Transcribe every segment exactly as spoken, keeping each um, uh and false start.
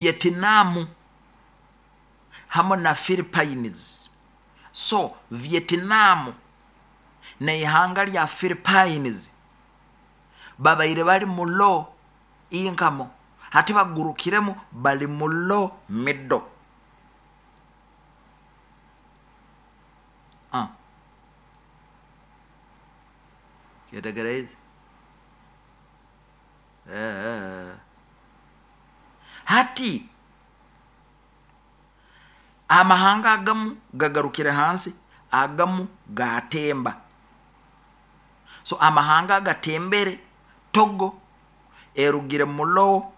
Vietnam hamu na Philippines. So Vietnam neihanga lya Philippines babaire bali mu low income, hati bagurukiremu bali mu low middle. Ah. Yetegereze. Eh. Hati amahanga agamu gagarukire hansi, agamu gatemba. So amahanga agatembere, Togo erugire mu low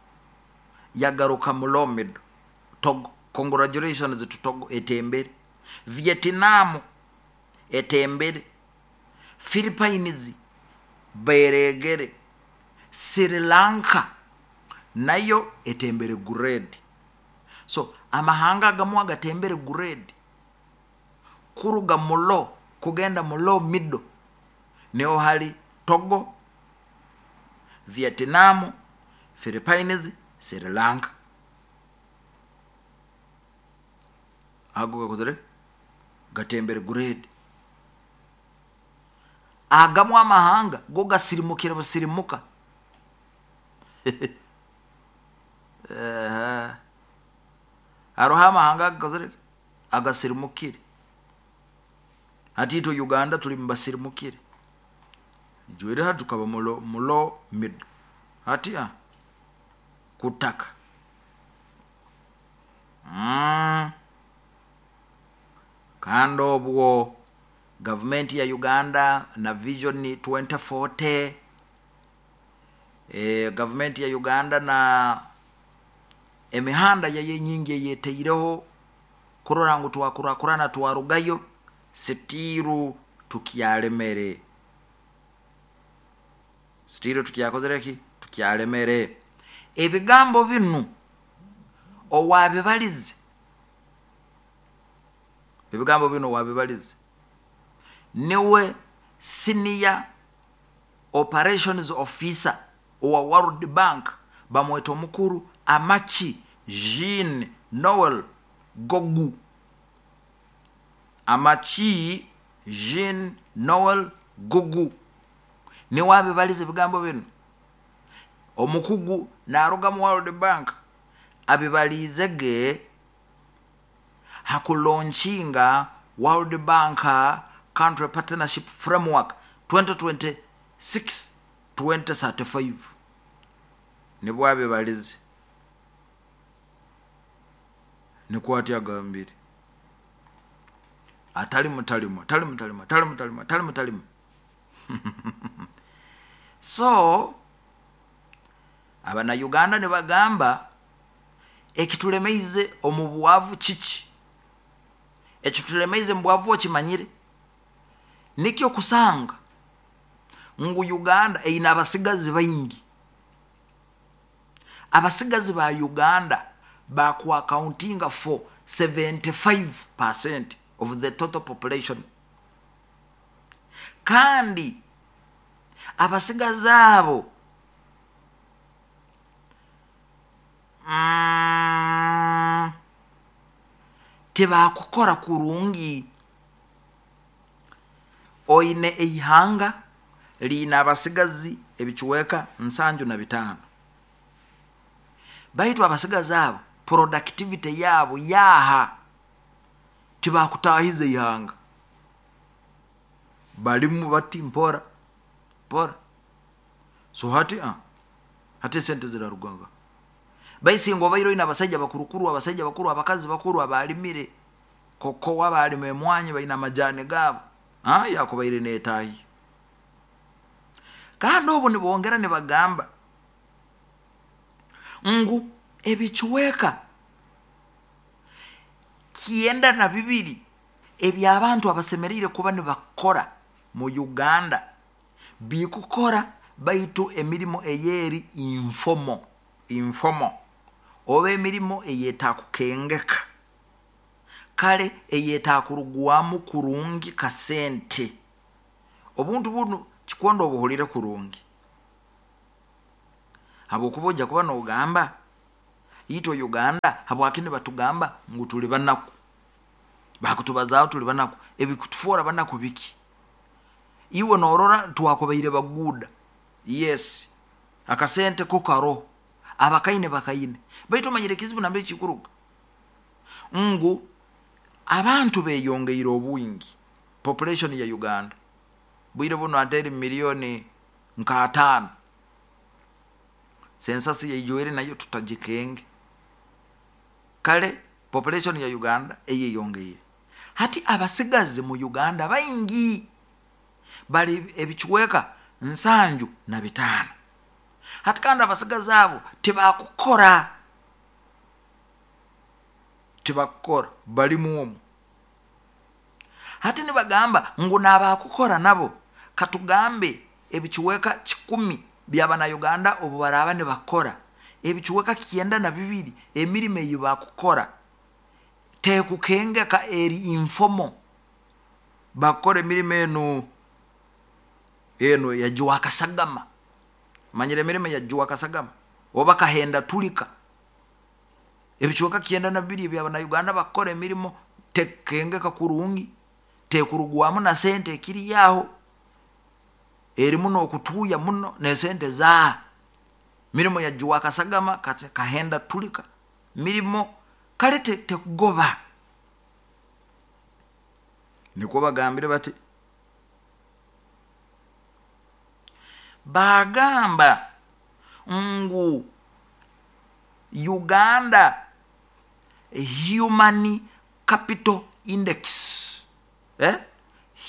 yagaruka mu low middle. Togo, congratulations to Togo, etembere. Vietnam etembere. Philippines beregere. Sri Lanka nayo etembere grade. So amahanga agamu agatembere grade kuruga mu low kugenda mu low middle, niho hari Togo, Vietnam, Philippines, Sri Lanka. Ago gakozere gatembere grade. Agamu amahanga go gasirimukira busirimuka. Eh, haroho amahanga gakozere agasirimukire. Hati itwe Uganda tuli mubasirimukire, jwere hati tukaba mulo, mulo middle. Hati ah, kutaka mm. Kandi obwo gavumenti ya Uganda na Vision twenty forty, eh, gavumenti ya Uganda na emihanda yayo enyingi eyeteireho kurora ngu twakurakurana twarugayo, sitiru tukyalemere. Sitiru tukyakozere ki? Tukyalemere. Ebigambo binu owabibalize, ebigambo binu owabibalize niwe senior operations officer owa World Bank, bamweta omukuru Amachi Jean Noel Gogu. Amachi Jean Noel Gogu niwe abibalize ebigambo binu. Omukugu naruga mu World Bank abibalize ge hakulaunchinga World Bank Country Partnership Framework twenty twenty-six twenty thirty-five. Nibwo abibalize. Niko ati agambire. Atali mutalimu, atali mutalimu, atali mutalimu, atali mutalimu. So abana Uganda ne bagamba ekitulemeize omu bwavu kiki? Ekitulemeize mu bwavu okimanyire? Nikyo kusanga ngu Uganda eyina abasigazi baingi. Abasigazi ba Uganda baku accounting for seventy-five percent of the total population. Kandi abasigazi abo mm, tebakukora kurungi. Oine eihanga liina abasigazi ebicuweka nsanju na bitaano. Baitu abasigazi abo productivity yabo yaha tibakutahiza ihanga. Balimu bati mpora mpora. So hati ah hati sente ziraruganga. Baisingo bairo ina abasajja bakurukuru, abasajja bakuru, abakazi bakuru abalimire koko wabalime emwanyi baina amajani gabo. Ah yakubaire netahi. Kandi obu nibongera nibagamba ngu ebicuweka kienda na bibiri ebyabantu abasemerire kuba nibakora mu Uganda bikukora baitu emirimo eyeri informal, informal oba emirimo eyetakukengeka kale eyetakurugwamu kurungi kasente. Obuntu bunu kikondo obuhulire kurungi habwokuba ojja kuba nogamba Itwe Uganda habwaki nibatugamba ngu tuli banaku? Bakutubazaaho tuli banaku, ebikutufoora banaku biki? Iwe norora twakubaire baguuda, yes, akasente ko karoho, abakaine bakaine, baitu omanyire ekizibu nambere kikuruga ngu abantu beyongeire obwingi. Population ya Uganda bwire buno ate eri miliyoni nka ataano, census yaijwire nayo tutagikenge. Kale population ya Uganda eyeyongeire, hati abasigazi mu Uganda baingi, bali ebicweka nsanju na bitaano. Hati kandi abasigazi abo tibakukora, tibakukora, balimu omu. Hati nibagamba ngu nabakukora nabo, katugambe ebicweka kikumi byabana Uganda obu baraaba nibakora, ebicweka kyenda na bibiri emirimo ei bakukora tekukengeka, eri informal. Bakukora emirimo enu enu yajwakasagama, manyire emirimo yajwakasagama oba kahenda tulika. Ebicweka kyenda na bibiri ebyabana Uganda bakukora emirimo tekukengeka kurungi, tekurugwamu na sente, ekiri aho erimu nokutuuya muno nesente zaaha, mirimo yajwakasagama, kahenda tulika, mirimo kale tekugoba. Nikwo bagambire bati, bagamba ngu Uganda Human Capital Index, eh?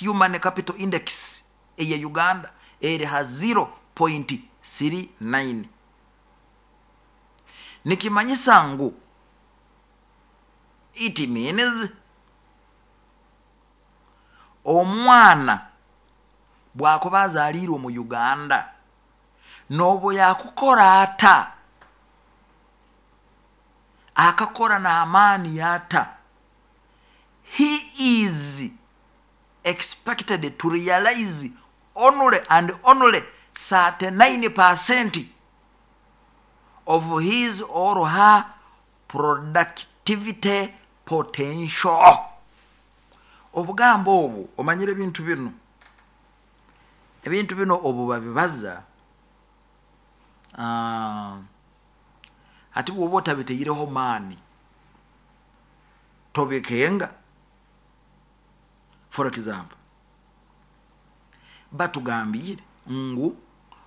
Human Capital Index eya Uganda eri ha zero point three nine, nikimanyisa ngu it means omwana bwakuba azaliirwe mu Uganda nobu yakukora ata, akakora n'amaani ata, he is expected to realize only and only thirty-nine percent of his or her productivity potential. Obugambo obu, omanyire ebintu bino, ebintu bino obu babibaza, uh, hati bwoba otabiteireho maani tobikenga. For example, batugambire ngu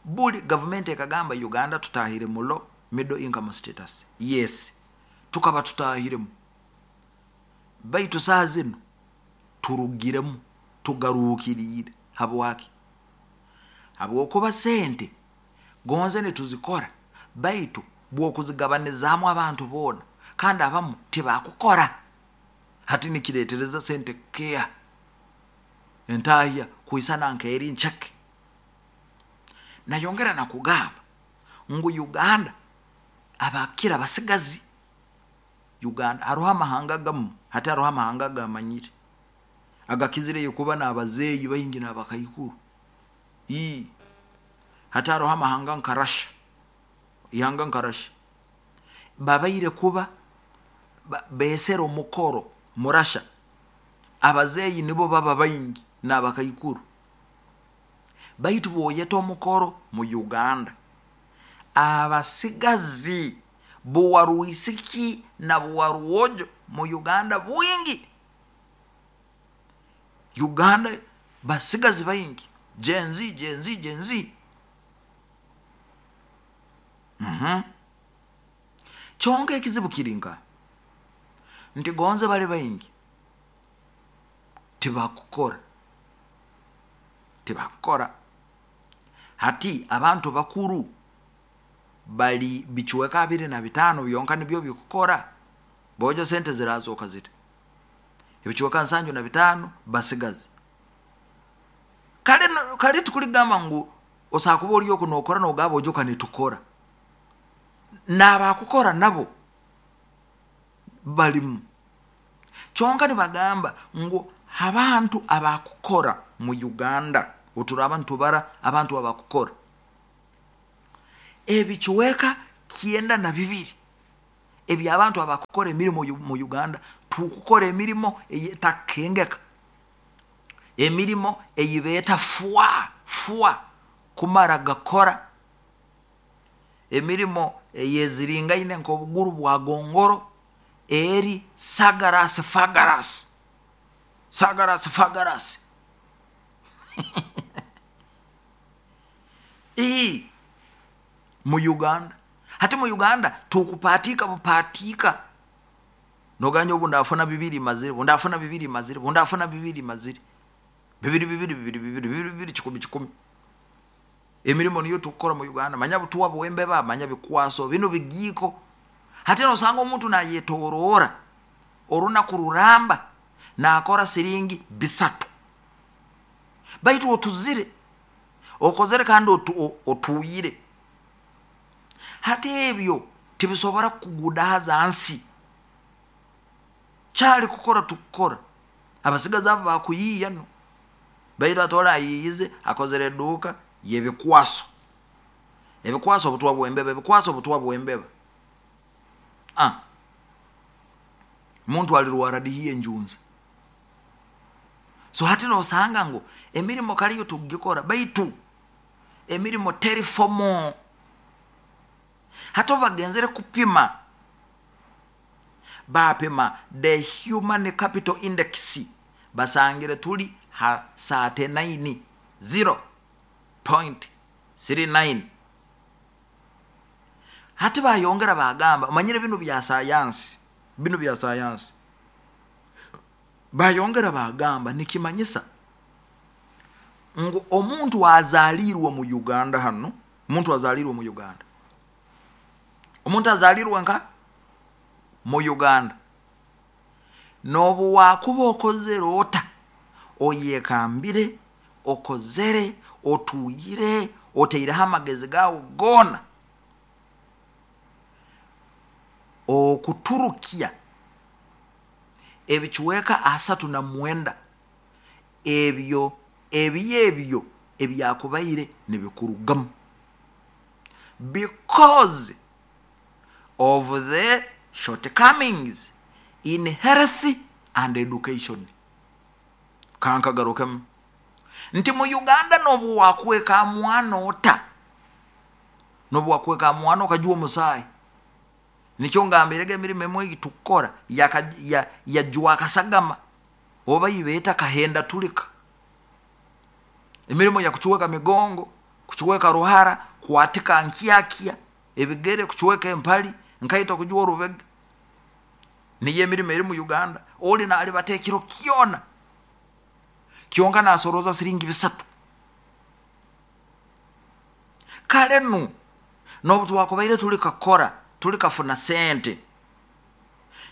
buli gavumenti ekagamba Uganda tutahire mu low middle income status. Yes, tukaba tutahiremu, baitu saaha zinu turugiremu, tugaruukiriire. Habwaki? Habwokuba sente gonze nituzikora, baitu bwokuzigabanizaamu abantu boona, kandi abamu tibakukora, hati nikiretereza sente kukeeha, entahya kwisana nk'eri nceke. Nayongera nakugamba ngu Uganda abakira basigazi Uganda, haroho amahanga gamu, hati haroho amahanga gamanyire agakizireyo kuba n'abazeeyi baingi n'abakaikuru. Ii hati haroho amahanga nka Russia, ihanga nka Russia babaire kuba besera omukoro mu Russia, abazeeyi nibo baba baingi n'abakaikuru. Baitu bwoyeta omukoro mu Uganda, abasigazi buwarwisiki na buwarwojo mu Uganda bwingi. Uganda basigazi baingi, Gen Z, Gen Z, Gen Z. Mm-hmm. Kyonka ekizibu kiri nka nti gonze bali baingi tibakukora, tibakukora. Hati abantu bakuru bali bicweka abiri na bitaano byonka nibyo bikukora, bojo sente zirazoka zita? Ebicweka nsanju na bitaano basigazi. Kale kale tukuligamba ngu osakuba oli oku nokora nogaba ojoka nitukora, n'abakukora nabo balimu. Kyonka nibagamba ngu abantu abakukora mu Uganda, oturaba nitubara abantu abakukora, ebicweka kyenda na bibiri Ebyabantu abakukora emirimo mu Uganda, tukukora emirimo eyetakengeka, emirimo eyibeeta fwa fwa kumara gakora, emirimo eyeziringaine nk'obuguru bwa gongoro, eri sagarasi fagarasi sagarasi fagarasi. Ii mu Uganda hati, mu Uganda tukupaatiika bupaatiika, noganya obu ndafuna bibiri mazire, obu ndafuna bibiri mazire, obu ndafuna bibiri mazire, bibiri bibiri bibiri bibiri bibiri bibiri kikumi kikumi. Emirimo niyo tukukora mu Uganda, manya butuwa bwembeba, manya bikwaso binu bigiiko. Hati nosanga omuntu nayetoroora orunaku ruramba nakora siringi bisatu, baitu otuzire okozere kandi otuuyire. Hati ebyo tibisobora kukugudahaza nsi. Kyali kukora tukukora, abasigazi abo bakuyiiya no, baitu ati oli ayiiyize akozere eduuka y'ebikwaso, ebikwaso obutwa bwembeba, ebikwaso obutwa bwembeba. Ah, muntu alirwara dihi enjunza? So hati nosanga ngu emirimo kaliyo tukugikora, baitu emirimo teri formal. Hati obu bagenzere kupima, bapima the human capital index, basangire tuli ha thirty-nine zero point three nine. Hati bayongera bagamba, omanyire binu bya sayansi, binu bya sayansi, bayongera bagamba nikimanyisa ngu omuntu azalirwe mu Uganda hano, omuntu azalirwe mu Uganda, omuntu azalirwe nka mu Uganda, nobu wakuba okozere ota, oyekambire, okozere, otuyire, oteireho amagezi gawe goona, okuturukya ebicweka asatu na mwenda ebyo ebyo ebyo ebyakubaire nibikurugamu, because of the shortcomings in health and education. Kankagarukemu nti mu Uganda nobu wakweka mwana ota, nobu wakweka mwana okajuwa omusaayi, nikyo ngambirege emirimo emwe egitukukora yajwa akasagama, oba yibeeta kahenda tulika, emirimo yakucweka migongo, kucweka ruhara, kwatika nkyakya ebigere, kucweka empali, nkaito kujuwa orubega. Niyo emirimo eri mu Uganda. Oli nalibata ekiro kyona kyonka nasoroza siringi bisatu. Kale nu nobu twakubaire tulikakora tulikafuna sente,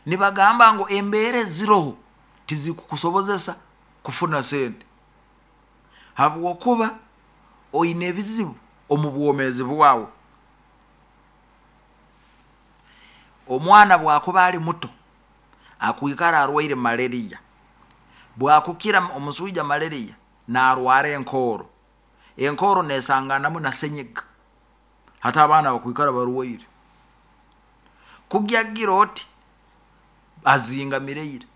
nibagamba ngu embeera eziroho tizikukusobozesa kufuna sente, habwokuba oine ebizibu omu bwomeezi bwawe. Omwana bwakuba ali muto akwikara arwaire malaria, bwakukira omuswija malaria narwara enkooro, enkooro nesanganamu na senyiga, hati abaana bakwikara barwaire. Kugyagira oti azingamireire,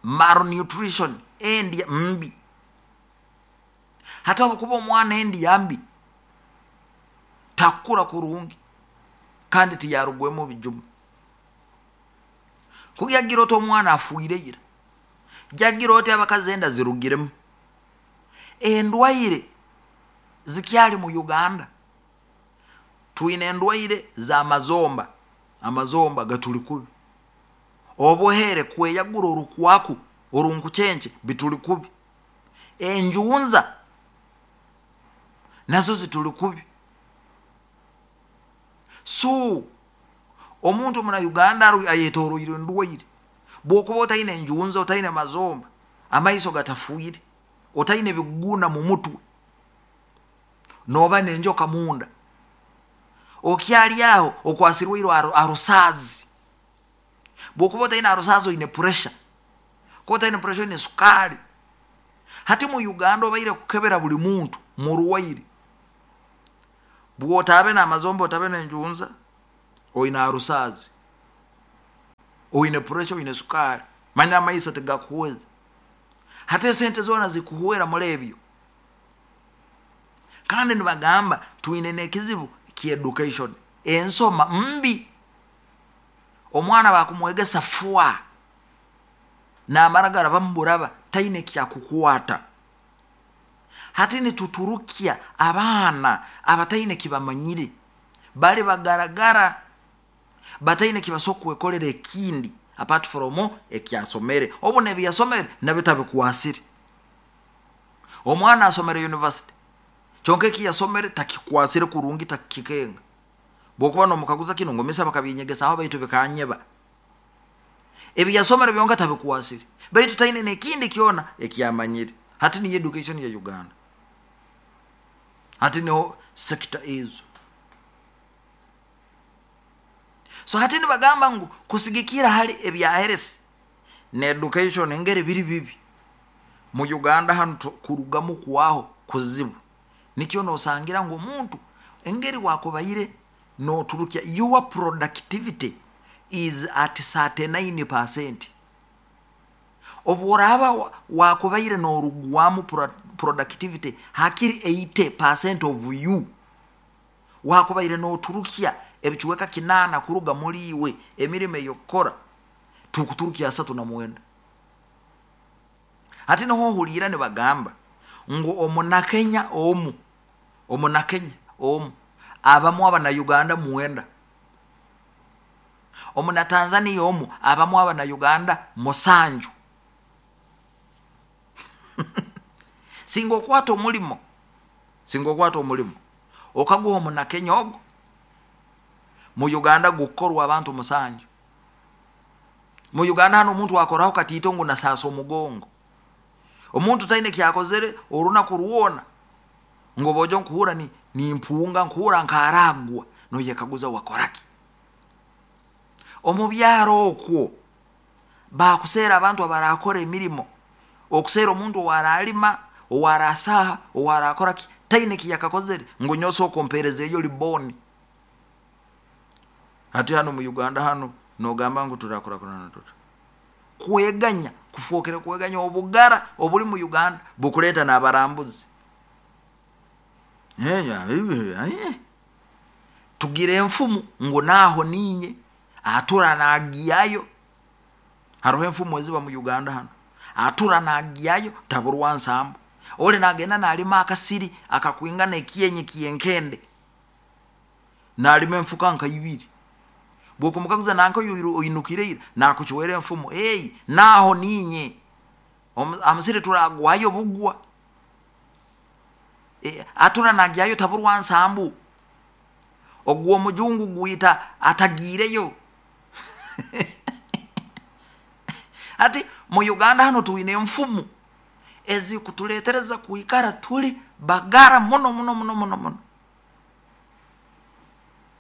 malnutrition, endya mbi. Hati obukuba omwana endya mbi takukura kurungi kandi tiyarugwemu bijuma. Kugyagira oti omwana afuire ira, gyagira oti abakazi enda zirugiremu. Endwaire zikyali mu Uganda, twine endwaire z'amazomba, amazomba gatuli kubi, obuhere kweyagura orukwaku orunkucenke bituli kubi, enjunza nazo zituli kubi. So omuntu muna Uganda ayetoroire endwaire, bwokuba otaine enjunza, otaine mazomba, amaiso gatafuire, otaine biguna mu mutwe, noba nenjoka munda, okyali aho okwasirweire arusaazi. Bwokuba otaine arusaazi oine puresha, kuba otaine puresha oine sukaali. Hati mu Uganda obaire kukebera buli muntu murwaire, bwotabe n'amazomba, otabe n'enjunza, oine arusaazi. Oine pressure, oine sukari, manya amaiso tegakuhweza. Hati esente zoona zikuhwera muri ebyo. Kandi nibagamba twine n'ekizibu ky'education, ensoma mbi. Omwana bakumwegesa fwa namara garabamu buraba, taine kyakukwata. Hati nituturukya abaana abataine kibamanyire, bali bagaragara bataine kibasobola kwekolera ekindi apart from ekyasomere. Obu nebiyasomere nabyo tabikwasire. Omwana asomere university, kyonka ekiyasomere takikwasire kurungi, takikenga. Bwokuba nomukaguza kinu ngu misa bakabinyegesaho baitu bikanyeba, ebiyasomere byonka tabikwasire, baitu taine nekindi kyona ekyamanyire. Hati niyo education ya Uganda, hati niho sector ezo. So hati nibagamba ngu kusigikira hali ebya health ne education engeri biri bibi mu Uganda hanu, kurugamu kwaho kuzibu. Nikyo nosangira ngu omuntu engeri wakubaire noturukya, your productivity is at thirty-nine percent. Obworaba wakubaire norugwamu productivity hakiri eighty percent of you, wakubaire noturukya ebicuweka kinana kuruga muri iwe emirimo eyokukora, tukuturukya asatu na mwenda. Hati niho ohuriira nibagamba ngu omunakenya omu, omunakenya omu abamu abana Uganda mwenda, omuna Tanzania omu abamu abana Uganda musanju. Singa okwata omulimo, singa okwata omulimo okaguha omunakenya ogo, mu Uganda gukorwa abantu musanju. Mu Uganda hano omuntu akoraho katiito ngu nasasa omugongo, omuntu taine kyakozere orunaku rwona, ngo bojo nkuhura ni nimpunga nkuhura nkaragwa, noyekaguza wakoraki. Omu byaro okwo bakuseera abantu abarakora emirimo, okuseera omuntu owaralima, owarasaha, owarakoraki, taine kiyakakozere ngu nyoso okompereza eyo liboni. Hati hano mu Uganda hano nogamba ngu turakurakurana tuta kweganya, kufokera kweganya obugara obuli mu Uganda bukuleta n'abarambuzi. Tugire enfumu ngu naho ninye atura nagiyayo. Haroho enfumu eziba mu Uganda hano, atura nagiyayo taburwa nsambu. Ole nagenda nalima akasiri akakwingana ekienyi kienkende, nalima enfuka nka ibiri. Bwokumukaguza nanka oinukireira nakuchwera enfumu, hey, naho ninye amusiri turagwayo bugwa. E, atura nagiyayo taburwa nsambu. Ogwo omujungu gwita atagireyo. Ati mu Uganda hano tuine enfumu ezikutuletereza kuikara tuli bagara muno muno muno muno muno.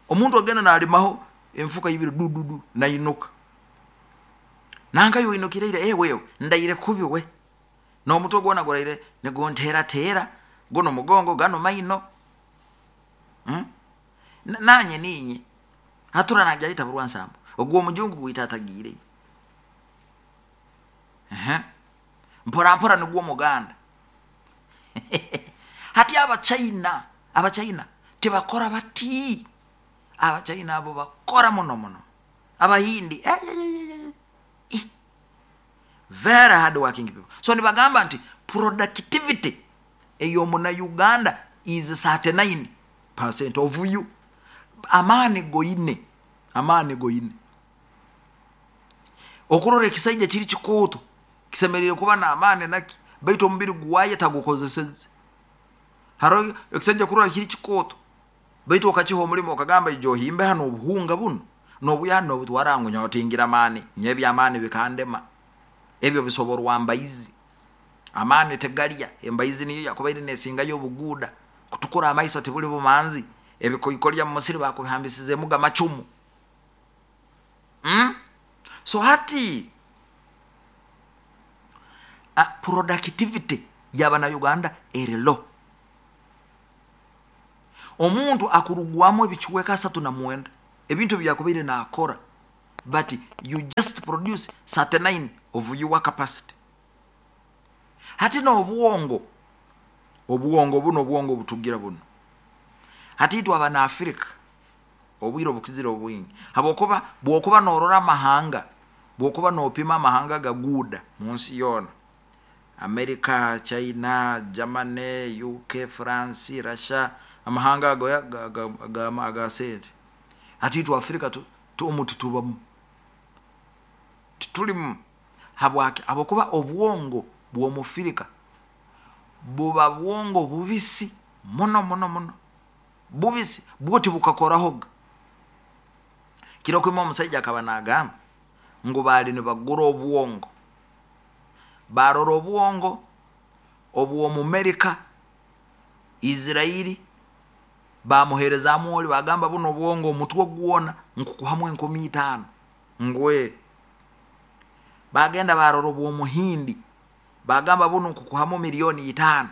Omuntu agenda nalimaho enfuka ibiri dududu nainuka, nanka yoinukireire, eh, wewe ndaire kubi we nomutwe gwona guraire negontera tera gono mugongo gano maino. hmm? Nanye ninye hatura najaita burwa nsambu ogwo omujungu gwita atagire. Uh-huh. Mpora mpora nigwo muganda. Hati abachina, abachina tibakora bati. Abachina abo bakora muno muno. Abahindi eh, eh, eh, very hard working people. So nibagamba nti productivity ey'omuna Uganda is thirty-nine percent of you. Amani goine, amani goine. Okurora ekisaija kiri kikooto kisemerire kuba n'amaani naki, baitu omubiri gwaye tagukozeseze. Haro ekisaija kurora kiri kikooto, baitu okakiha omulimo okagamba ijo ohimbe hano obuhunga buno nobuya hano obutwara ngu nyotingira amaani, nyo amaani bikandema. Ebyo bisoborwa mbaizi. Amaani tegalya, embaizi niyo yakubaire nesingayo obuguuda, kutukura amaiso tibuli bumanzi, ebikoikolya mu musiri bakubihambisizeemu gamacumu. Mm? So hati uh, productivity yabana Uganda eri low. Omuntu akurugwamu ebicuweka asatu na mwenda ebintu byakubaire nakora But you just produce thirty-nine of your capacity. Hati n'obwongo, obwongo buno, obwongo butugira buno, hati itwe Abanaafrika obwire obukizire obwingi, habwokuba bwokuba norora amahanga, bwokuba nopima amahanga gaguuda mu nsi yoona, America, China, Germany, U K, France, Russia, amahanga ago aga sente. Hati itwe Afrika omu titubamu, titulimu. Habwaki? Habwokuba obwongo bw'Omufirika buba bwongo bubisi muno muno muno, bubisi bwo, tibukakorahoga. Kiro kimu omusaija akaba nagamba ngu baali nibagura obwongo, barora obwongo obw'Omumerika, Isirairi, bamuheerezaamu oli, bagamba, "Buno obwongo, omutwe gwona nkukuhamu enkumi itaano." Ngwe bagenda barora obw'Omuhindi, bagamba, "Buno nkukuhamu miliyoni itaano."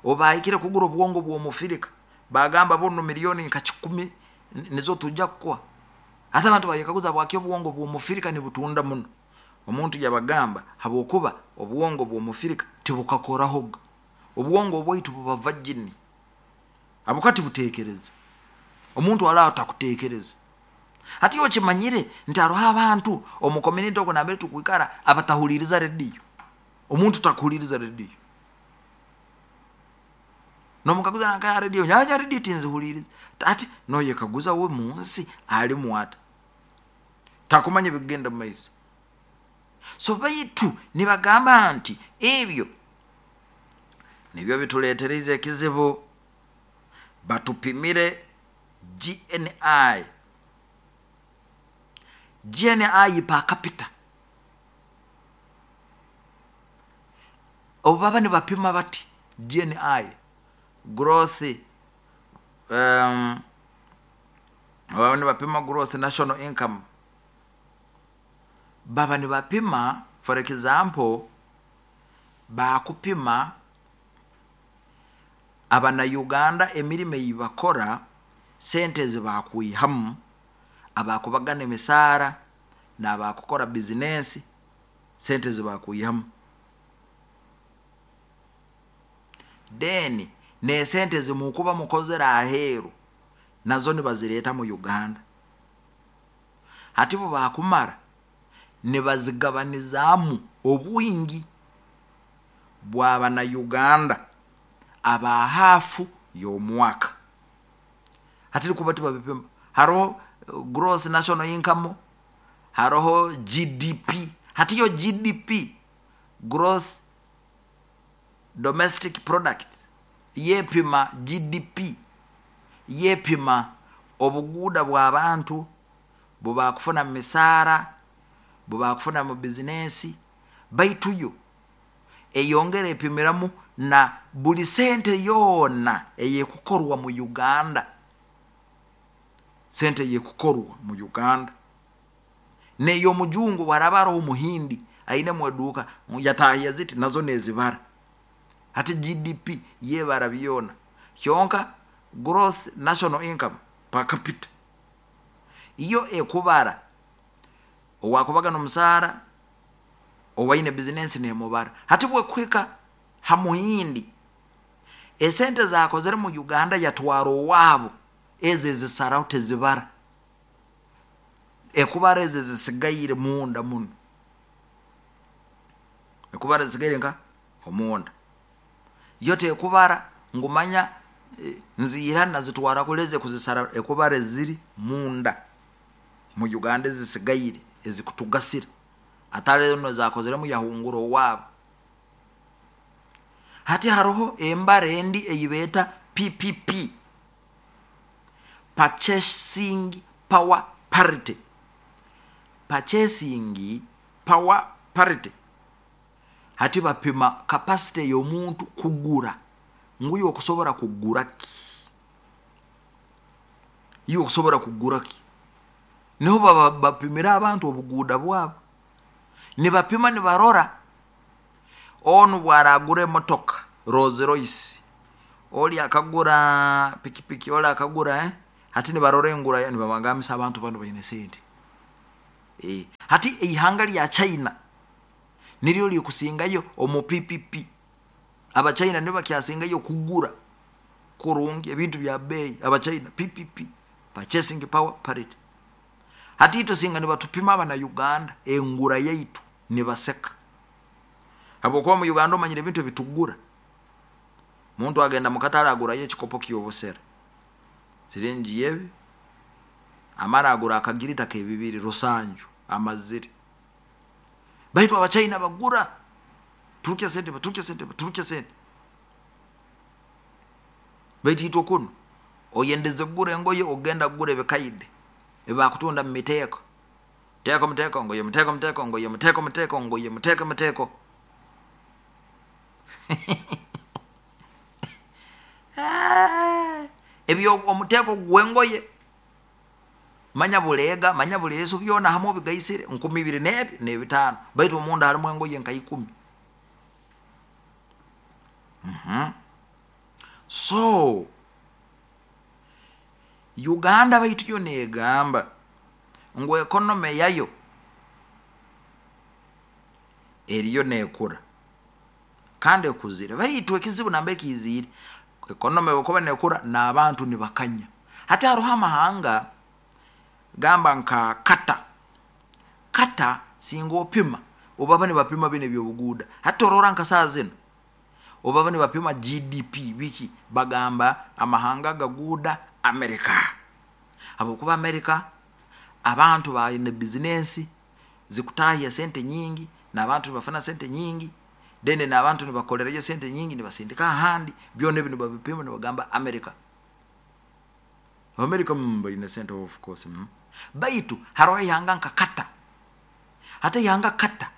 Obahikire kugura obwongo bw'Omufirika, bagamba, "Buno miliyoni nka kikumi nizo tujja kukuha." Ate abantu bayekaguza, bwaki obwongo bw'Omufirika nibutunda muno? Omuntu yabagamba, habwokuba obwongo bw'Omufirika tibukakorahoga. Obwongo obwaitu buba virgin, habwokuba tibutekereza. Omuntu alaho takutekereza. Hati okimanyire nti haroho abantu omu community okwo nambere tukwikara abatahuliriza rediyo. Omuntu takuhuliriza rediyo, nomukaguza, "Nka rediyo nyaja rediyo tinzihuliriza." Ati noyekaguza, we munsi alimu ata? Takumanya bigenda mu maiso. So baitu nibagamba nti ebyo nibyo bituleetereza ekizibu. Batupimire G N I, G N I per capita. Obu baba nibapima bati G N I, growth, um, baba nibapima growth national income, baba nibapima, for example, bakupima Abanauganda emirimo ei bakora, sente ezi bakwihamu, abakubagana emisaara n'abakukora bizinensi, sente ezi bakwihamu, then n'esente zimukuba mukozere aheeru nazo nibazireeta mu Uganda. Hati bo bakumara nibazigabanizaamu obwingi bw'Abanauganda aba haafu y'omwaka. Hati kuba tibabipima, haroho gross national income, haroho G D P. Hati yo G D P, gross domestic product, yepima G D P, yepima obuguuda bw'abantu bwebakufuna mu misaara, bwebakufuna mu bizinensi. Baitu yo eyongera epimiramu na buli sente yoona eyekukorwa mu Uganda, sente eyekukorwa mu Uganda ney'omujungu. Bwaraba aroho Omuhindi ainemu eduuka, yatahya ziti, nazo nezibara. Hati G D P yebara byona. Kyonka growth national income per capita iyo ekubara owakubaga n'omusaara, owaine bizinensi nemubara. Hati bwekuhika ha Muhindi, esente zakozere mu Uganda yatwara owaabo, ezo ezisaraho tezibara, ekubara ezo ezisigaire munda muno, ekubara ezisigaire nka omunda. Yo tekubara ngumanya eh, nziira nazitwara kuleze kuzisara. Ekubara eziri munda mu Uganda ezisigaire ezikutugasira, atari no zakozeremu yahungura owaabo. Hati haroho embara endi eyibeeta P P P, purchasing power parity. Purchasing power parity, hati bapima capacity y'omuntu kugura, nguyo okusobora kugura ki, iwe okusobora kugura ki. Niho baba bapimira abantu obuguuda bwabo. Nibapima, nibarora onu bwaragura emotoka Rolls Royce, oli akagura pikipiki, oli akagura, eh? Hati nibarora engura, nibabagambisa abantu bano baine sente. E, hati eihanga lya China niryo likusingayo omu P P P. Abachina nibo bakyasingayo kugura kurungi ebintu bya bei. Abachina P P P, purchasing power parity. Hati itwe singa nibatupima abana Uganda engura yaitu nibaseka. Habwokuba mu Uganda omanyire ebintu ebitugura. Muntu agenda mukatale agurayo ekikopo ky'obusera siringi yebi, amara agura akagirita k'ebibiri rusanju amazire. Baitu Abachina bagura turukya sente, baturukya sente, baturukya sente. Baitu itwe kuno oyendeze kugura engoye ogenda kugura ebikaide ebakutunda mu miteeko. Teeko muteeko ngoye muteeko muteeko ngoye muteeko muteeko ngoye muteeko muteeko. Ebyo omuteeko gw'engoye manya buleega manya buleesu byona hamwe obigaisire nkumi ibiri n'ebi n'ebitaano, baitu omunda harimu engoye nka ikumi. Mm-hmm. So Uganda baitu yo negamba ngu ekonome yayo eriyo nekura kandi ekuzire, baitu ekizibu namba ekiziire ekonome bwekuba nekura n'abantu nibakanya. Hati haroho amahanga gamba nka Kata. Kata singa opima obaba nibapima bino ebyobuguuda. Hati orora nka saa zino obaba nibapima G D P biki, bagamba amahanga gaguuda Amerika. Habwokuba Amerika abantu baine bizinensi zikutahya sente nyingi n'abantu nibafuna sente nyingi, then n'abantu nibakolerayo sente nyingi nibasindika ahandi, byona ebi nibabipima nibagamba Amerika. Amerika baine sente of course. Mm. Baitu haroho ihanga nka Kata. Hata ihanga Kata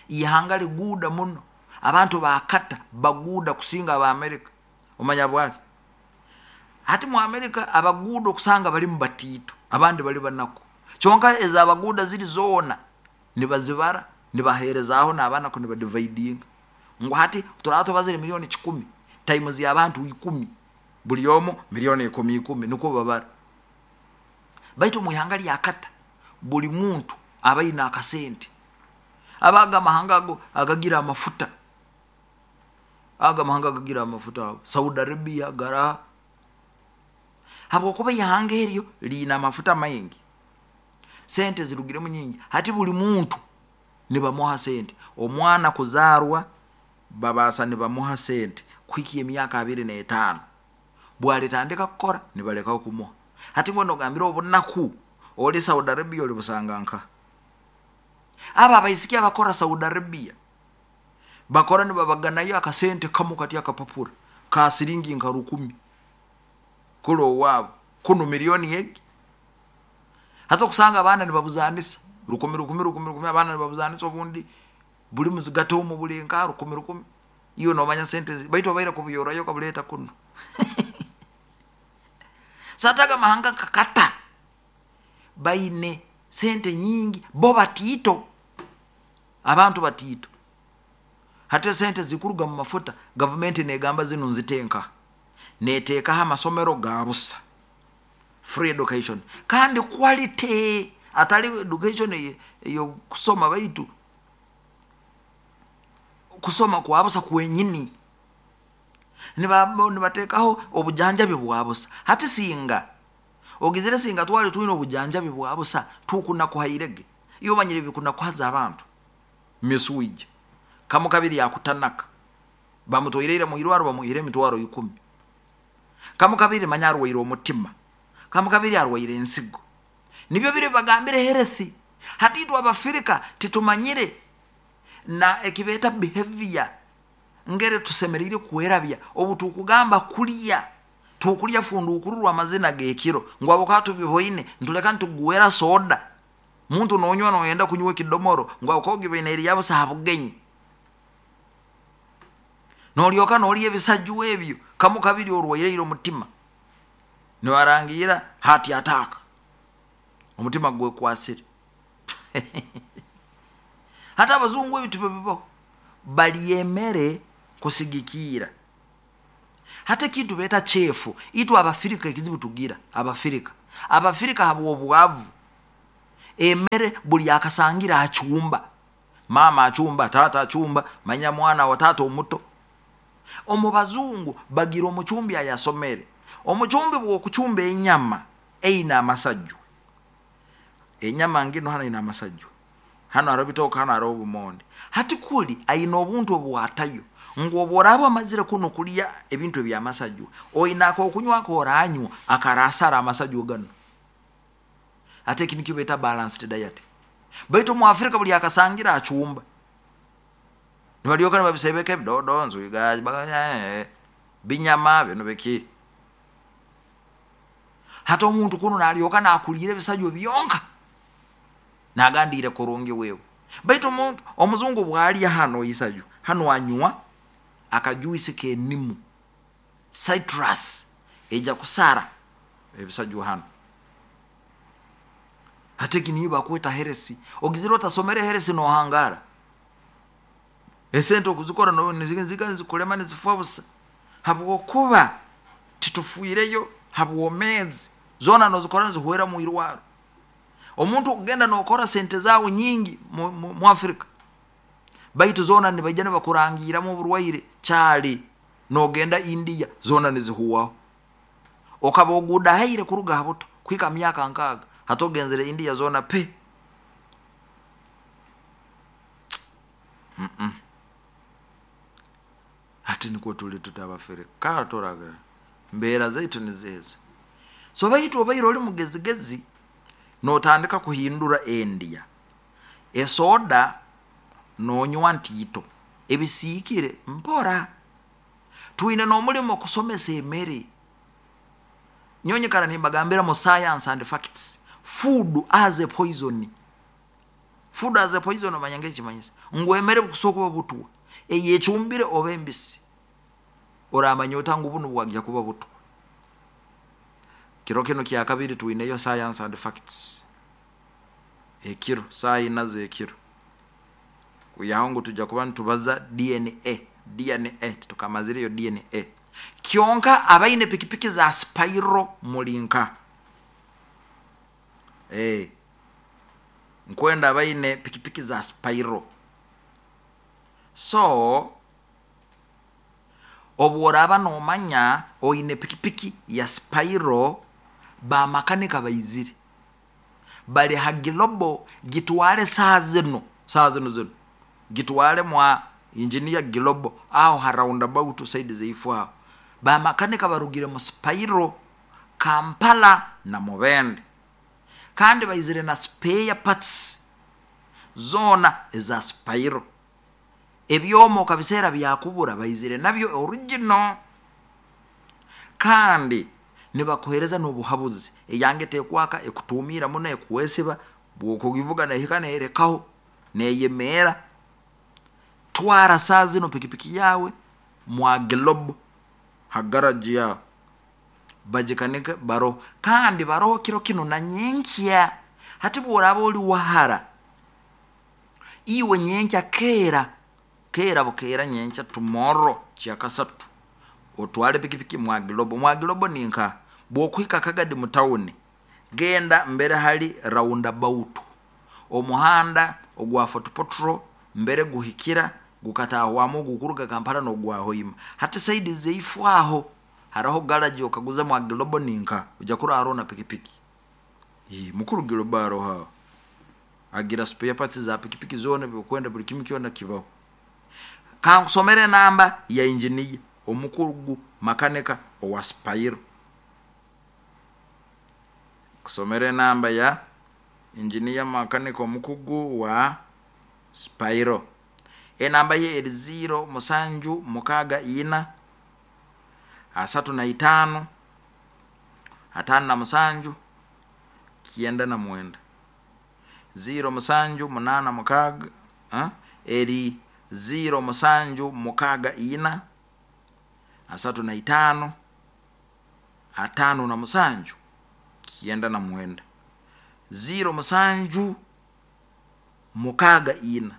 ihanga liguuda muno, abantu ba Kata baguuda kusinga aba Amerika. Omanya bwaki? Hati mu Amerika abaguuda okusanga bali mu batiito, abandi bali banaku. Kyonka ezabaguuda ziri zoona nibazibara nibaheerezaaho n'abaana ku nibadividinga. Ngu hati turaba tubazire milioni kikumi times y'abantu ikumi, buli omu milioni ikumi ikumi nikwo babara. Baitu mu ihanga lya Kata buli muntu aba aine akasente. Abaga amahanga ago agagira amafuta, aga amahanga agagira amafuta ago Saudi Arabia gara, habwokuba ihanga eryo liina amafuta maingi, sente zirugiremu nyingi. Hati buli muntu nibamuha sente. Omwana kuzarwa babasa nibamuha sente kuhikia emyaka abiri n'etaano, bwalitandika kukora nibalekaho kumuha. Hati ngono ogambire obunaku oli Saudi Arabia oli busanga nka aba abaisiki abakora Saudi Arabia bakora nibabaganayo akasente kamu kati akapapura ka siringi nka rukumi kulo owabo kuno milioni yegi. Hata okusanga abaana nibabuzanisa rukumi rukumi rukumi rukumi, abaana nibabuzanisa obundi buli muzigato omu buli nka rukumi rukumi, iyo nomanya sente baitu obaire kubuyorayo kabuleta kuno. Sataga mahanga kakata baine sente nyingi, bo batiito, abantu batiito. Hata sente zikuruga mu mafuta gavumenti negamba zino nzitenka, neteekaho amasomero ga busa, free education kandi quality, atali education eyo kusoma baitu kusoma kwa busa kwenyini. Nibateekaho obujanjabi bwa busa. Hati singa ogizire singa twali twine obujanjabi bwa busa tukunakuhairege iyo manyire bikunakuhaza abantu miswije kamu kabiri yakutanaka bamutoireire mu irwaro bamuhire emitwaro ikumi, kamu kabiri manya arwaire omutima, kamu kabiri arwaire ensigo. Nibyo biri bagambire herethi. Hati itwe Abafrika titumanyire na ekibeta behavior ngere tusemerire kwerabya obu tukugamba kulya tukulya fundukururwa amazina gekiro ngo abo katubiboine ntuleka ntugwera soda muntu nonywa noyenda kunywa kidomoro ngo akogibeine eri yabo sahabugenyi nolyoka noli ebisajju ebyo kamu kabiri orwaire omutima niwarangira hati ataka omutima gwe kwasire. Hata abazungu ebitu bibo baliyemere kusigikira. Hata kintu beta chefu itu Abafrika ekizibu tugira Abafrika Abafrika habwo obwavu Emere buli akasangira achumba, mama achumba, tata achumba, manya mwana wa tata omuto. Omu bazungu bagira omuchumbi ayasomere. Omuchumbi bwokuchumba enyama eine amasajju, enyama ngino hano ine amasajju, hano hariho bitooke, hano hariho obumonde. Hati kuli aine obuntu obwatayo ngu obworaba omazire kunu kulya ebintu ebyamasajwa, oine akokunywa akoranywa akarasara amasajwa ganu. Ate eki nikyo beeta balanced diet. Baitu mu Afrika buli akasangira acumba, nibalyoka nibabisebeka ebidodo, nzwiga, binyama binu biki. Hati omuntu kunu nalyoka nakuliira ebisajwa byonka, nagandiire kurungi wewe. Baitu omuntu omuzungu bwalya hano isajwa, hanu anywa akajuisi k'enimu, citrus, eija kusara ebisajwa hanu. Hati egi niyo bakweta health. Ogizire otasomere health nohangara, esente okuzikora niziga nizikulema nizifa busa, habwokuba titufiireyo habwomeezi, zoona nozikora nizihwera mwirwarro. Omuntu okugenda nokora sente zaawe nyingi mu, mu, mu Afrika, baitu zoona nibaija nibakurangiramu oburwaire. Kyali nogenda India, zoona nizihwaho. Okaba ogudahaire kuruga ha buto kuhika myaka nkaaga, hati ogenzere India zoona pe. Hati nikwo tuli tuti Abafirika, turaga mbeera zaitu nizeezo. So baitu obaire oli mugezigezi notandika kuhindura endya. Esoda nonywa ntiito, ebisiikire mpora. Twine n'omulimo kusomesa emere. Nyowe nyikara nimbagambira mu science and facts, food as a poison. Food as a poison omanya ngekimanyisa ngu emere bukusobola kuba butwa, eyecumbire oba embisi, oramanya ota ngu bunu bwagya kuba butwa. Kiro kinu kyakabiri twineyo science and facts, ekiro saaha ina z'ekiro, kwihaho ngu tujja kuba nitubaza D N A, D N A titukamazireyo D N A. Kyonka abaine pikipiki za Spiro mulinka. Eh, nkwenda abaine pikipiki za Spiro. So obworaba nomanya oine pikipiki ya Spiro, bamakanika baizire bali ha Global, gitwale saa zino, saa zino zino gitwale mwa engineer Global aho ha roundabout side zeifu aho. Bamakanika barugire mu Spiro Kampala na Mubende, kandi baizire na spare parts zona eza Spiro. Ebyomo kabiseera byakubura baizire nabyo original, kandi nibakuhereza n'obuhabuzi. Eyange tekwaka, ekutumira muno, ekuwesiba, bwokugivuga nehika nerekaho neyemera. Twara saa zino pikipiki yawe mwa Global ha garage yawe, bagikanike baroho, kandi baroho kiro kino na nyenkya. Hati bworaba oli wahara, iwe nyenkya keera keera bukeera nyenkya tomorrow kyakasatu otwale pikipiki mwa Global. Mwa Global ninka bwokuhika Kagadi mu town, genda mbere hali roundabout, omuhanda ogwa Fort Portal mbere guhikira gukatahwamu gukuruga Kampala nogwa Hoima. Hati side zeifu aho hariho garage okaguza mwa Global ninka ujya kuraro na pikipiki. Ii, mukuru Global aroho agira spare parts za pikipiki zona, byokwenda buli kimu kyona kibaho. Kankusomere namba ya engineer omukuru makanika owa Spiro. Kusomere namba ya engineer makanika omukugu wa Spiro. Enamba ye eri zero musanju mukaga ina asatu na itano atano na musanju kienda na mwenda. Zero musanju munana mukaga, ha? Eri zero musanju mukaga ina asatu na itano atano na musanju kienda na mwenda. Zero musanju mukaga ina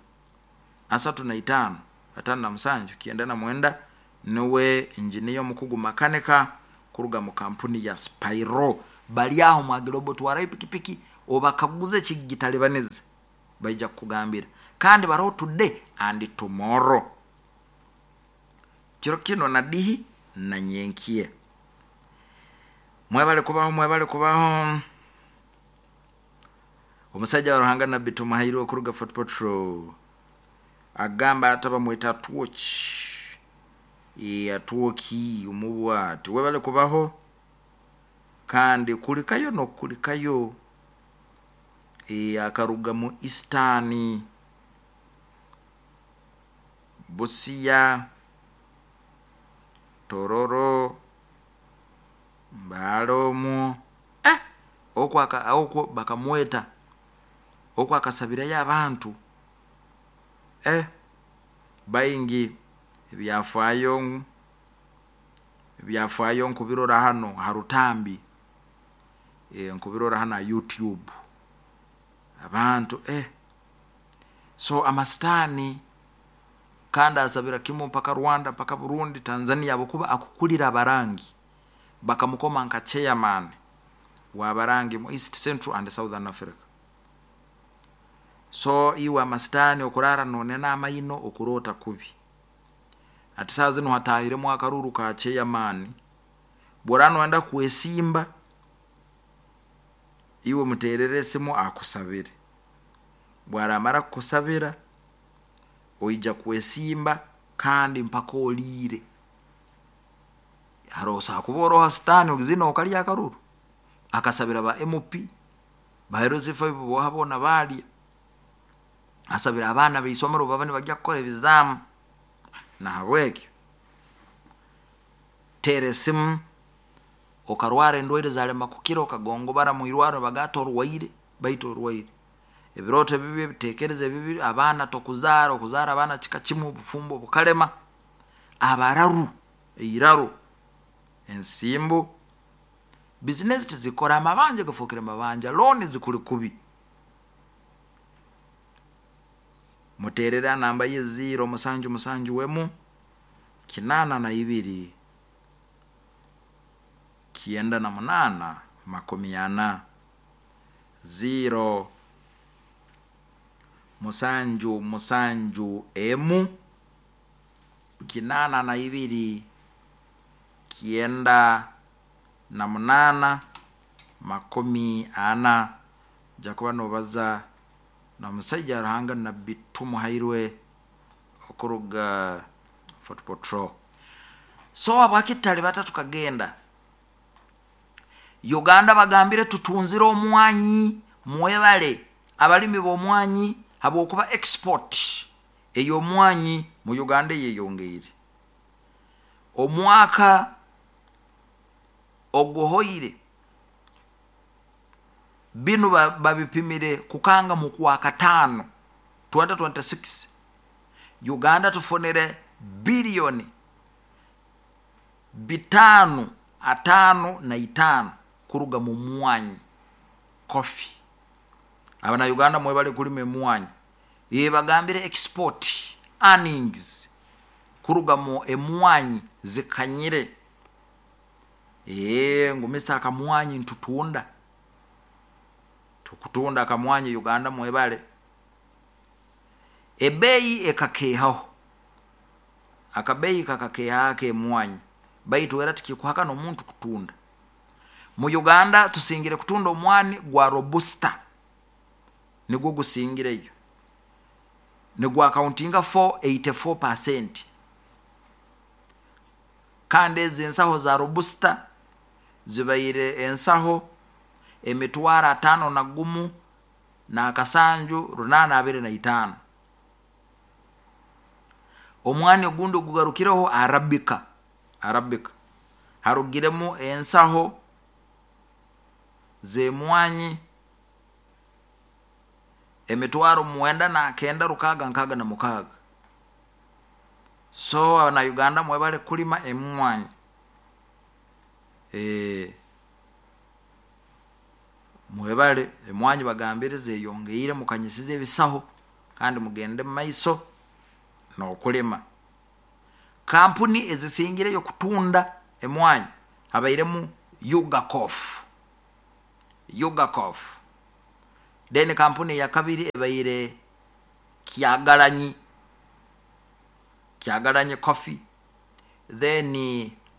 asatu na itano atano na musanju kienda na mwenda. Niwe engineer mukugu makanika kuruga mu kampuni ya Spiro. Bali aho mwa Global twara pikipiki Obakaguze ekigitalibaniza, baija kukugambira. Kandi baroho today and tomorrow, kiro kino na dihi na nyenkiye. Mwebale kubaho, mwebale kubaho. Omusajja wa Ruhanga Nabbi Tumuhairwe okuruga Fort Portal agamba ati bamweta Atwoki, Atwoki omubwati. Webale kubaho kandi kulikayo nokulikayo. E, akaruga mu Eastern Busia, Tororo, Mbale omwo, eh, okwo okwo bakamweta okwo akasabirayo abantu eh, baingi. Ebyafaayo ebyafaayo nkubirora hano harutambi, e, nkubirora hano ha YouTube abantu eh. So amasitaani kandi asabira kimu mpaka Rwanda, mpaka Burundi, Tanzania, abakuba akukulira abarangi bakamukoma nka chairman w'abarangi mu East, Central and Southern Africa. So iwe amasitaani okurara nonena amaino, okurota kubi. Ati saa zino hatahiremu akaruru ka chairman, bwora noenda kwesimba iwe muterere esimu akusabire. Bwaramara kukusabira oija kwesimba kandi mpaka oliire. Harosa kuba oroha sitaani ogizina okalya akaruru. Akasabira ba M P ba L C five boha bona balya, asabira abaana b'isomero baba nibajya kukora ebizamu. Nahabwekyo tera esimu, okarwara endwaire zalema kukira, okagongobara mu irwaro bagata orwaire, baitu orwaire ebiroto ebibi, ebitekerezo ebibi, abaana tokuzaara, okuzaara abaana kika kimu, obufumbo bukalema, abararu eiraro, ensimbu, bizinesi tizikora, amabanja gafokere mabanja, looni zikuli kubi. Muterera namba ye zero musanju musanju wemu kinana na ibiri kienda na munana makumi ana, zero musanju musanju emu kinana na ibiri kienda na munana makumi ana. Jakuba nobaza na musajja Ruhanga Nabbi Tumuhairwe okuruga Fort Portal. So abakitali batatu kagenda Uganda bagambire tutunzire omwanyi, mwebale abalimi b'omwanyi habwokuba export ey'omwanyi mu Uganda yeyongeire. Omwaka oguhoire binu babipimire kukanga mu kwa kataano twenty twenty-six, Uganda tufunire bilioni bitano atano na itano kuruga mu mwanyi coffee. Abana Uganda mwebale kulima emwanyi, yebagambire export earnings kuruga mu emwanyi zikanyire. Eh, ngu Mister akamwanyi ntutunda, tukutunda akamwanyi Uganda mwebale. Ebeyi ekakehaho, akabeyi kakakeha ke mwanyi, baitu era tikikuhaka n'omuntu kutunda. Mu Uganda tusingire kutunda omwani gwa robusta, nigwo gusingireyo, nigwa accountinga four eighty-four percent. Kandi ezi ensaho za robusta zibaire ensaho emitwaro atano na gumu na akasanju runana abiri na itano. Omwani ogundi ogugarukireho arabika, arabika harugiremu ensaho zemwanyi emitwaro mwenda na kenda rukaga nkaga na mukaga. So abana Uganda mwebale kulima emwanyi. E, mwebale emwanyi bagambire zeyongeire mukanyisize ebisaho kandi mugende maiso n'okulima. Kampuni ezisingireyo kutunda emwanyi habairemu Ugacof, Ugacof Then kampuni ya kabiri ebaire Kyagalanyi, Kyagalanyi Coffee. Then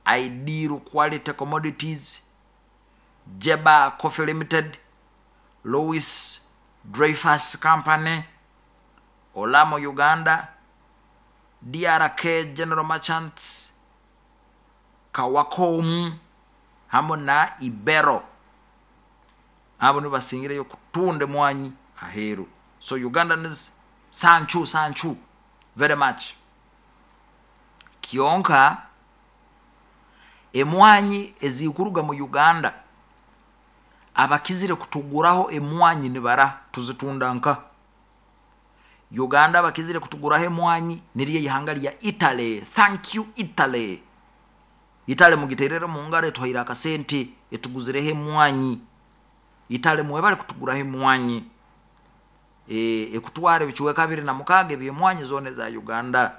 Ideal Quality Commodities, Jeba Coffee Limited, Louis Dreyfus Company, Olamo Uganda, D R K General Merchants, Kawakomu hamwe na Ibero. Abo nibasingireyo kutunda mwanyi aheru. So Ugandans sanchu sanchu very much. Kyonka emwanyi ezikuruga mu Uganda abakizire kutuguraho emwanyi nibara tuzitunda nka Uganda abakizire kutuguraho emwanyi niriye ihanga lya Italy. Thank you Italy. Italy mugiterere mu ngaro etuhaire akasente etuguzireho emwanyi. Italy mwebale kutuguraho emwanyi. E, ekutwara ebicuweka bibiri na mukaaga ebyemwanyi zone za Uganda.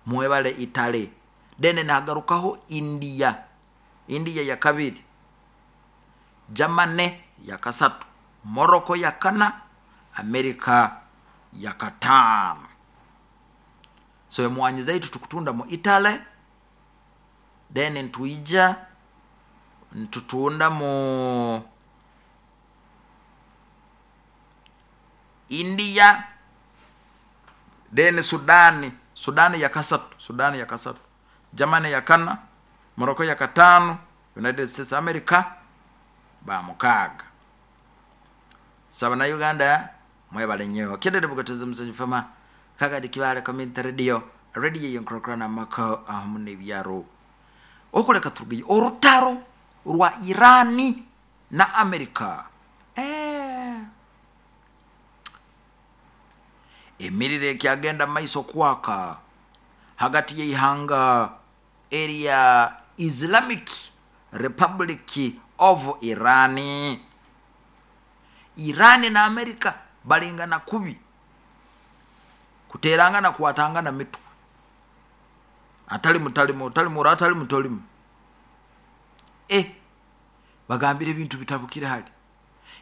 Mwebale Italy. Then nagarukaho India. India ya kabiri, Germany ya kasatu, Morocco ya kana, America ya katano. So emwanyi zaitu tukutunda mu Italy, then ntuija ntutunda mu India, then Sudani, Sudani ya kasatu, Sudani ya kasatu, Germany ya kana, Morocco ya katano, United States America ba mukaga. Saba na Uganda mwebale nnyo. Kedere bugatunze musanyu fama kagadi kibale community radio, radio yenkrokra mako ahamune byaro. Okuleka turugiye orutaro rwa Irani na America. Eh. Emirire kyagenda maiso kwaka hagati y'ihanga area Islamic Republic of Iran. Irani na America balingana kubi, kuterangana kuwatangana mitu. Atali mutalimu, atali mura, atali mutolimu. Eh, bagambire ebintu bitabukire hali.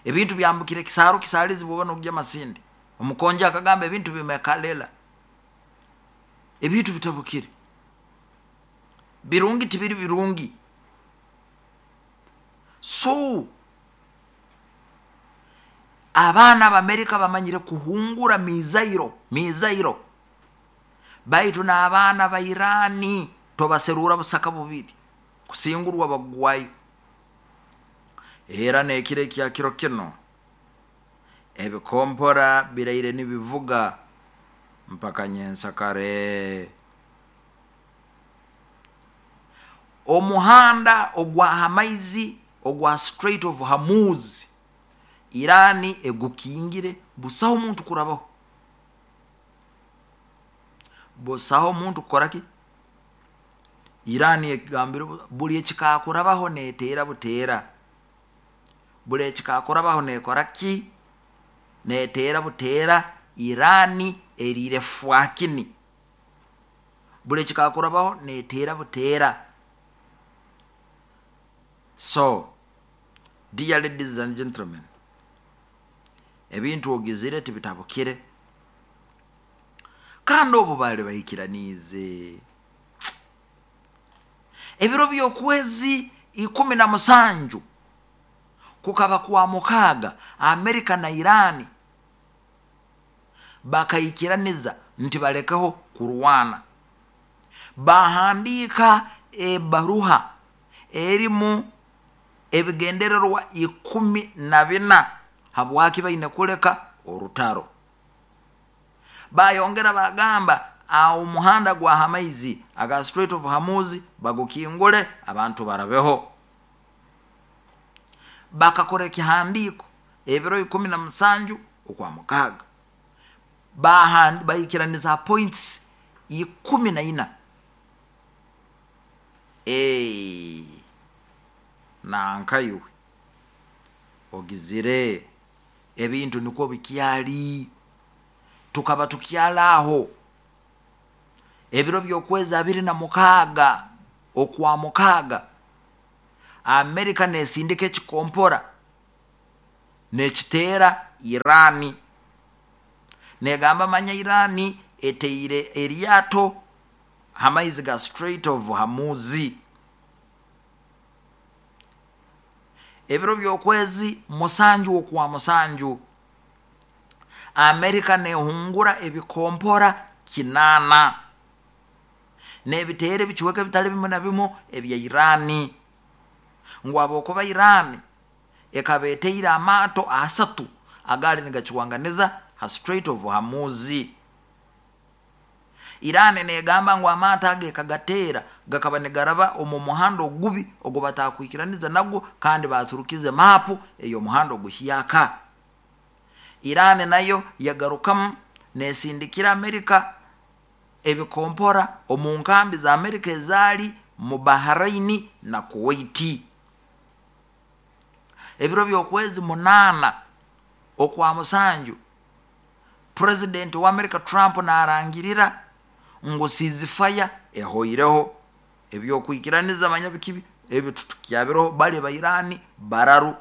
Ebintu byambukire kisaro kisalizi bwoba nokujja masindi. Omukonja akagamba ebintu bimekalela. Ebintu bitabukire. Birungi tibiri birungi. So abaana b'Amerika bamanyire kuhungura mizairo, mizairo. Baitu n'abaana ba Irani tobaserura busaka bubiri kusingurwa bagwayo. Era nekire kya kiro kino ebikompora biraire nibivuga mpaka nyensakare. Omuhanda ogwa hamaizi ogwa Strait of Hormuz Irani egukingire busaho omuntu kurabaho. Busaho omuntu kukoraki? Irani egambire buli ekikakurabaho neteera buteera. Buli ekikakurabaho nekoraki? Neteera buteera. Irani erire fwakini. Buli ekikakurabaho neteera buteera. So dear ladies and gentlemen, ebintu ogizire tibitabukire. Kandi obu bali bahikiranize ebiro by'okwezi ikumi na musanju kukaba kwa mukaaga, Amerika na Irani bakayikiraniza nti balekeho kurwana. Bahandika ebaruha erimu ebigendererwa ikumi na bina habwaki baine kuleka orutaro. Bayongera bagamba awo muhanda gwa hamaizi aga Strait of Hormuz bagukingule abantu barabeho. Bakakora ekihandiko ebiro ikumi na musanju okwa mukaaga. Bahandi bayikiraniza points ikumi na ina. Eh, nankayuwe ogizire ebintu niko bikyali tukaba tukyalaho ebiro by'okwezi abiri na mukaaga okwa mukaaga Amerika nesindika ekikompora Nekiteera Irani, negamba manya Irani eteire eryato hamaizi ga Strait of Hormuz. Ebiro by'okwezi musanju okwa musanju, Amerika nehungura ebikompora kinaana n'ebiteera ebicweka ebitali bimu na bimu ebya Irani, ngu habwokuba Irani ekaba eteire amaato asatu agaali nigacwanganiza ha Strait of Hormuz. Irani negamba ngu amaato ago ekagateera gakaba nigaraba omu muhanda ogubi ogu batakwikiraniza nagwo, kandi baturukize maapu ey'omuhanda oguhyaka. Irani nayo yagarukamu nesindikira Amerika ebikompora omu nkambi za Amerika ezaali mu Bahraini na Kuwaiti. Ebiro by'okwezi munaana okwa musanju, Purezidenti wa Amerika Trump narangirira ngu ceasefire ehoireho, ebyokwikiraniza manya bikibi ebyo tutukyabiroho, bali ba Irani bararu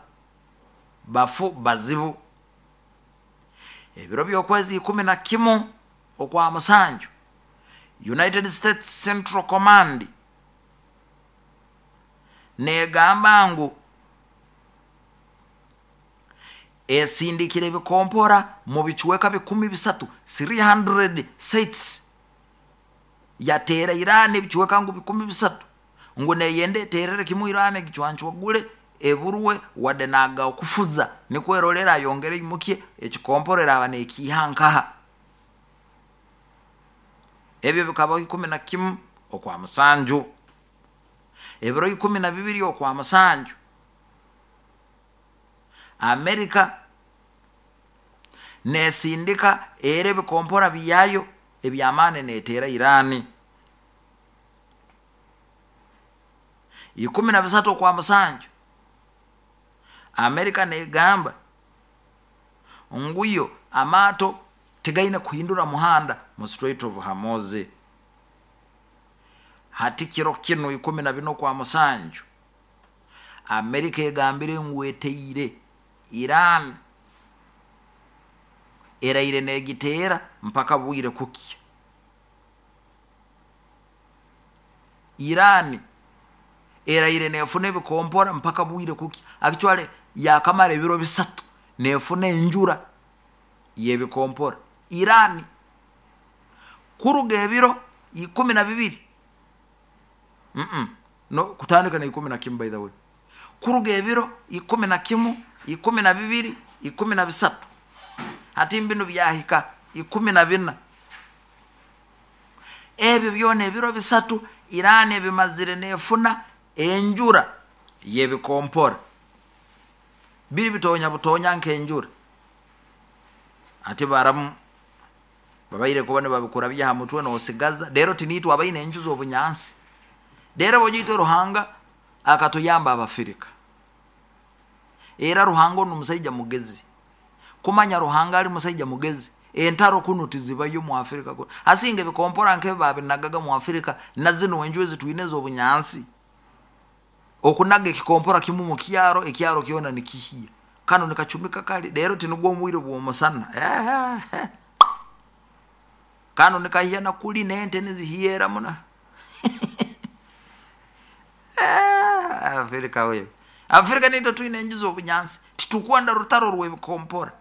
bafu bazibu. Ebiro by'okwezi ikumi na kimu okwa musanju, United States Central Command negamba ngu esindikire ebikompora mu bicweka bikumi bisatu, three hundred sites, yateera Irani ebicweka ngu bikumi bisatu, ngu neyenda eterere kimu Irani egicwancwagule eburwe wadde naga okufuza, nikwo erolera ayongere imukye ekikompora eraba nekiiha nkaha. Ebyo bikabaho ikumi na kimu okwa musanju. Ebiro ikumi na bibiri okwa musanju, Amerika nesindika era ebikompora byayo ebyamaani neteera Irani. Ikumi na bisatu okwa musanju, Amerika negamba nguyo amaato tigaine kuhindura muhanda mu Strait of Hormuz. Hati kiro kinu ikumi na bina okwa musanju, Amerika egambire ngu eteire Iran, eraire negiteera mpaka bwire kukya. Irani eraire nefuna ebikompora mpaka bwire kukya, actually yakamara ebiro bisatu nefuna enjura y'ebikompora Irani kuruga ebiro ikumi na bibiri, mm -mm. No, kutandika na ikumi na kimu, by the way, kuruga ebiro ikumi na kimu, ikumi na bibiri, ikumi na bisatu, hati mbinu byahika ikumi na bina. Ebyo byona ebiro bisatu Irani ebimazire nefuna enjura y'ebikompora, biri bitonya butonya nk'enjura. Ati baramu babaire kuba nibabikurabya ha mutwe nosigaza rero tinitwe abaine enju z'obunyansi. Rero bojaitwe Ruhanga akatuyamba Abafirika, era Ruhanga onu musaija mugezi, kumanya Ruhanga ali musaija mugezi, entaro kunu tizibayo mu Afrika. Asinga ebikompora nk'ebi babinagaga mu Afrika, na zino enju ezitwine ez'obunyansi, okunaga ekikompora kimu mu kyaro, ekyaro kyona nikihya, kano nikacumika kali rero tinugwo omwire bw'omusana kano nikahya na kuli n'ente nizihyera muna. Afrika we, Afrika nitwe twine enju z'obunyansi, titukwenda rutaro rw'ebikompora,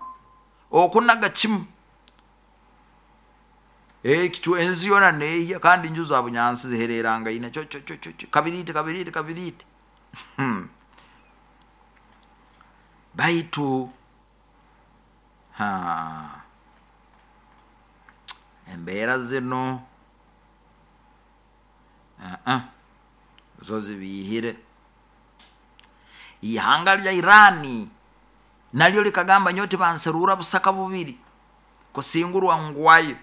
okunaga kimu ekicu ensi yona nehya, kandi enju za bunyansi zihererangaine cyo cyo cyo cyo kabirite kabirite kabirite. Hmm. Baitu ha embeera zino uh -uh. zo zibihire. Ihanga lya Irani nalyo likagamba nyowe tibanserura busaka bubiri kusingurwa ngwayo,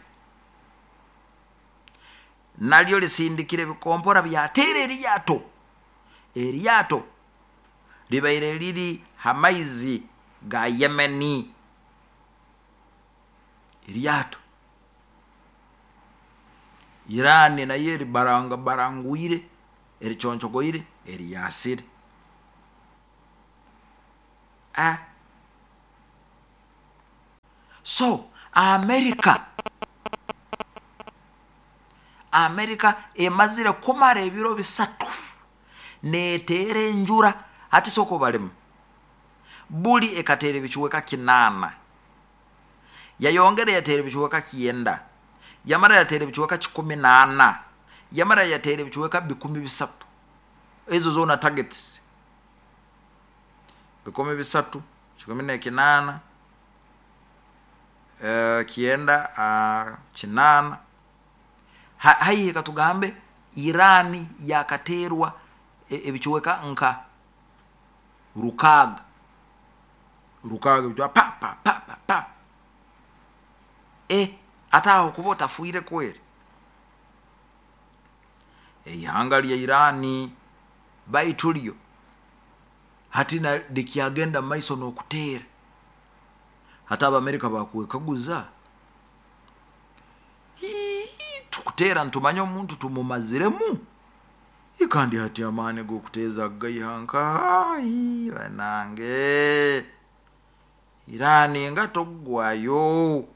nalyo lisindikire ebikompora byateera eryato. Eryato libaire liri ha maizi ga Yemeni, eryato Irani nayo eribaranga barangwire ericoncogoire eriyasire. Ah, So Amerika Amerika emazire kumara ebiro bisatu neteera enjura. Hati sooka obalemu, buli ekateera ebicweka kinaana, yayongera yateera ebicweka kyenda, yamara yateera ebicweka kikumi n'ana, yamara yateera ebicweka bikumi bisatu. Ezo zoona targets bikumi bisatu, kikumi n'ekinaana, eh, kyenda, uh, kinaana, haihi katugambe Irani yakateerwa ebicweka nka rukaaga rukaaga ebicweka pa pa pa pa pa. E ate aho kuba otafiire kweri. Eihanga lya Irani baitu lyo hati likyagenda mumaiso n'okuteera. Hati Abamerika bakwekaguza, tukuteera nitumanya omuntu tumumaziremu, kandi hati amaani g'okuteeza gaiha nkahi? Banange, Irani nga togwayo.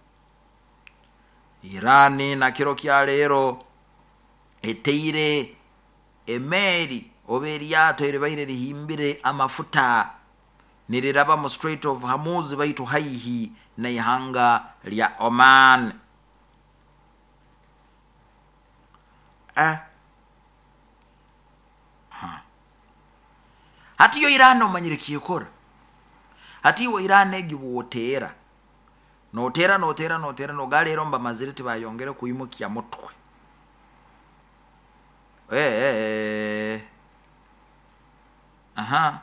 Irani na kiro kya leero eteire emeeri oba eryato eribaire rihimbire amafuta niriraba mu Strait of Hormuz, baitu haihi n'ihanga lya Oman. Eh. Hati yo Irani omanyire kyekora. Hati iwe Irani egi bwoteera, noteera noteera noteera, noga leero mbamazire tibayongere kwimukya mutwe. Eh, aha,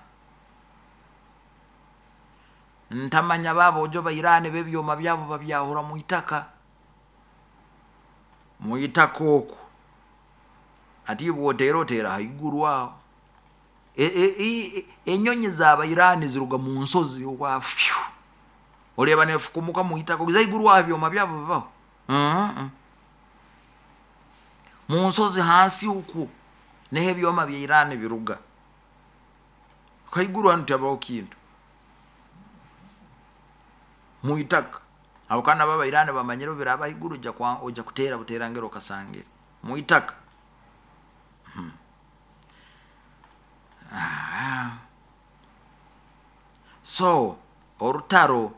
ntamanya babojo ba Irani b'ebyoma byabo babyahura mu itaka, mu itaka okwo. Ati bwoteera oteera haiguru aho. E, e, enyonyi z'aba Irani ziruga mu nsozi okwa fyu, oreba nefukumuka mu itaka ogiza haiguru aho, ebyoma byabo bibaho mu nsozi hansi okwo, niho ebyoma bya Irani biruga. Haiguru hanu tihabaho kintu, mu itaka. Abo kandi nabo Abairani bamanyire biraba haiguru, ojya kuteera buteerangire okasangire mu itaka. Hmm. Ah. So orutaro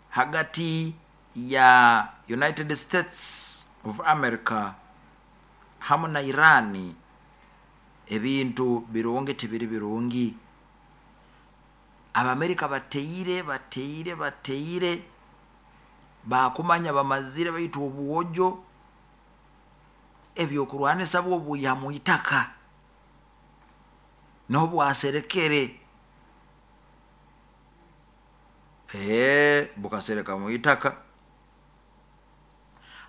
hagati ya United States of America hamu na Irani, ebintu birungi tibiri birungi. Abamerika bateire bateire bateire, bakumanya bamazire, baitu obwojo ebyokurwanisa bwo bwiha mu itaka niho bwaserekere, ee bukasereka mu itaka.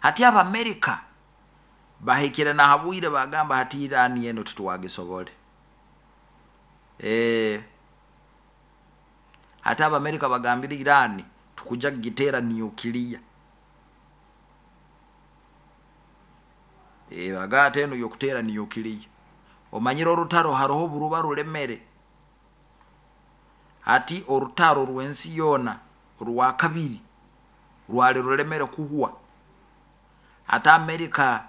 Hati Abamerika bahikire nahabwire bagamba hati Irani eno titwagisobole. Ee hati Abamerika bagambire Irani tukuja kugiteera nukiliya. E, bagata eno yokuteera nukiliya. Omanyire orutaro haroho oburuba rulemere. Hati orutaro rw'ensi yoona rwa kabiri rwali rulemere kuhwa. Hati Amerika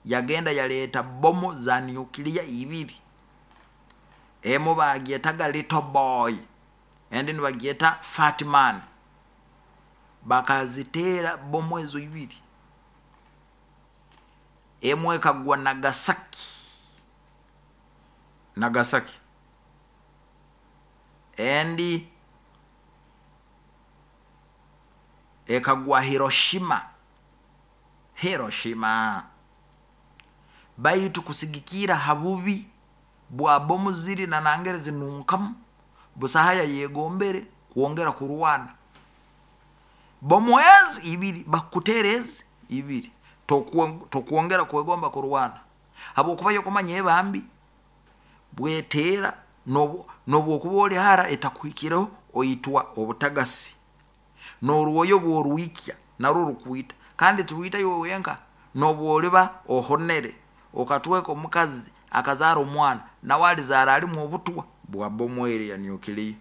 yagenda yaleeta bomu za nukiliya ibiri, emu bagyetaga Little Boy, endi nibagyeta Fat Man. Bakaziteera bomu ezo ibiri, emu ekagwa Nagasaki, Nagasaki, endi ekagwa Hiroshima, Hiroshima. Baitu kusigikira ha bubi bwa bomu ziri na nangere zinunkamu, busahaya yegombere kwongera kurwana. Bomu ezi ibiri bakutera ezi ibiri, tokwongera kwegomba kurwana, habwokuba yokumanya ebambi bweteera nobwokuba oli hara etakuhikireho oitwa obutagasi, n'orwoyo bworwikya narwo rukwita, kandi tirwita iwe wenka, nobwoliba ohonere okatweka omukazi akazaara omwana, nawe alizaara alimu obutwa bwa bomu eri ya nukiliya.